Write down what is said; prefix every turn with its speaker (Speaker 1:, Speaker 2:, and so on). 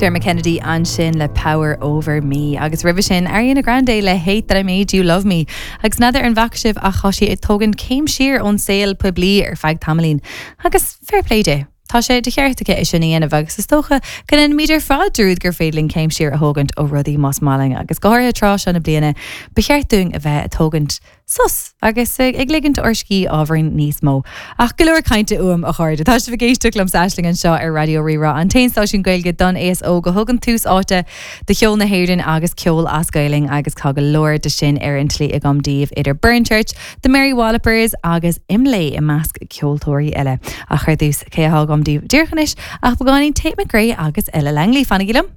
Speaker 1: Dermot Kennedy ansin le Power Over Me agus roimhe sin Ariana Grande le Hate That I Made You Love Me. Agus n'fheadar an bhfaca sibh ach tá sí ag tógaint céim siar ón saol poiblí ar feadh tamaillín. Agus fair play di. Tá sé de cheart aici é sin a dhéanamh agus is dócha go ndéanaimid ar fad dearúd gur féidir linn céim siar a thógaint ó rudaí más maith linn agus go háirithe tráth seo na bliana ba cheart dúinn a bheith ag tógaint sos agus ag ligint ár scíth ábhairín níos mó. Ach go leor cainte uaim, a chairde. Tá sibh ag éisteacht liomsa Aisling anseo ar Raidió Rí-Rá, an t-aon stáisiún Gaeilge don aos óg a thugann tús áite do cheol na hÉireann agus ceol as Gaelainn agus tá go leor de sin ar an tslí agam daoibh idir Burnchurch, The Mary Wallopers agus Imlé i measc ceoltóirí eile. Ach ar dtús, cé atá agam daoibh díreach anois ach beagáinín Tate McRae agus Ella Langley. Fanaigí liom!